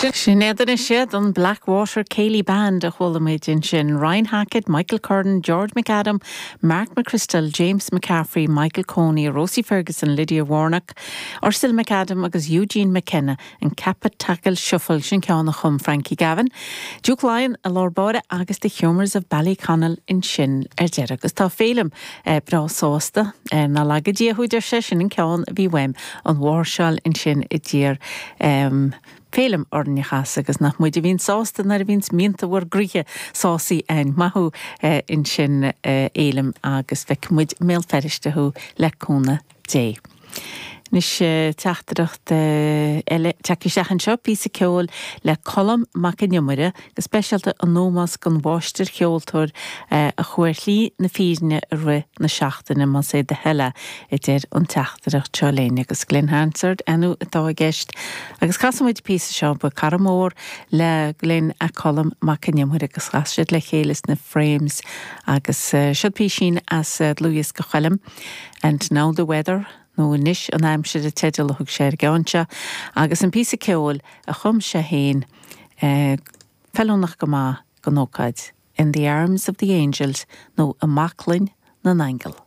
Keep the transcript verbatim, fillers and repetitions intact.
Sin iad anois siad an Blackwater Céilí Band a chuala muid ansin Ryan Hackett, Michael Curran, George McAdam, Mark McChrystal, James McCaffrey, Michael Coney, Rosie Ferguson, Lydia Warnock, Ursula McAdam agus Eugene McKenna an Cappataggle Shuffle sin ceann a chum Frankie Gavin. Duke Lyon i lár báire agus the Humours of Ballyconnell ansin ar deireadh agus tá Félim eh, breá sásta eh, ná laga Dia thú deir sé sin an ceann a bhí uaim an mháirseáil ansin i dtír um, Félim orneachas agus nach muid a bhíonn sásta nuair a bhíonn mianta bhur gcroíthe sásaí an maithú eh, ansin eh, Fhéilim agus feicfidh muid i mBéal Feirste thú le cúnamh Dé. Anois teachtaireacht eile tagtha isteach anseo píosa ceoil le Colm Mac Con Iomaire go speisialta in ómós don mháistircheoltóir a chuaigh ar shlí na fírinne i rith na seachtaine más é do thoil é a deir an teachtaireacht seo linn agus Glen Hansard anu atá i gceist agus casfaidh muid píosa seo ba cara mór le Glen é Colm Mac Con Iomaire agus chas siad le chéile sna Frames agus seo píosín as dlúthdhiosca Choilm and now the weather nó anois an aimsir an teideal a thug sé ar an gceann seo, agus an píosa ceoil a chum sé féin eh, feiliúnach go maith don ócáid, In the Arms of the Angels nó i mbaclainn na nAingeal.